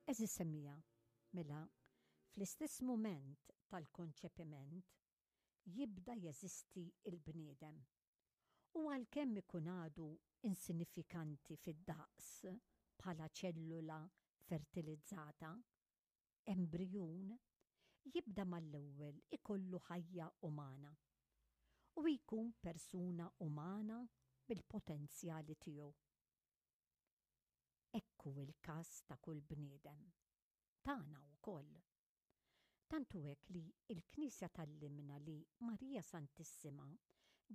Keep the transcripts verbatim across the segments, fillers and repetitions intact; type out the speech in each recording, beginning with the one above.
Għeżież semmiegħa, mela fl-istess mument tal-konċepiment jibda jeżisti l-bniedem. U għalkemm ikun għadu insinifikanti fid-daqs bħala ċellula fertilizzata, embrijun, jibda mal-ewwel ikollu ħajja umana u jkun persuna umana bil-potenzjali tiegħu. Hekk hu l-każ ta' kull bniedem, tagħna wkoll. Tant hu hekk li l-Knisja tgħallimna li Marija Santissima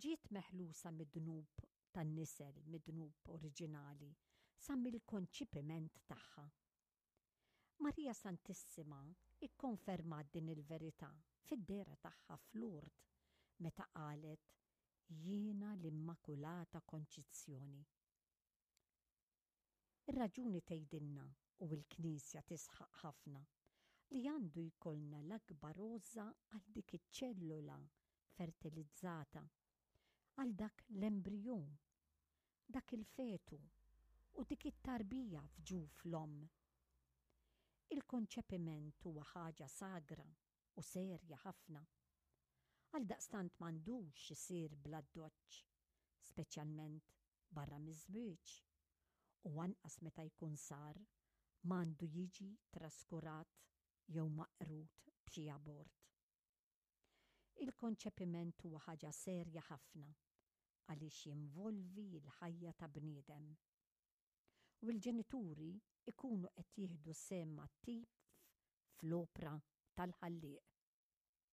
ġiet meħlusa mid-dnub tan-nisel, mid-dnub oriġinali, sa mill-konċipiment tagħha. Marija Santissima ikkonfermat din il-verità fid-dehra tagħha f'Lourdes meta qalet jiena l-Immakulata Konċizzjoni. Ir-raġuni tgħidilna u l-Knisja tisħaq ħafna li għandu jkollna l-akbar għożża għal dik iċ-ċellula fertilizzata, għal dak l-embrijun, dak il-fetu u dik it-tarbija f'ġuf l-omm. Il-konċepiment huwa ħaġa sagra u serja ħafna. Għaldaqstant m'għandux isir bl-addoċċ, speċjalment barra miż-żwieġ, u anqas meta jkun sar m'għandu jiġi traskurat jew maqrut b'xi abort. Il-konċepiment huwa ħaġa serja ħafna għaliex jinvolvi l-ħajja ta' bniedem. U l-ġenituri ikunu qed jieħdu sehem attiv fl-opra tal-Ħallieq.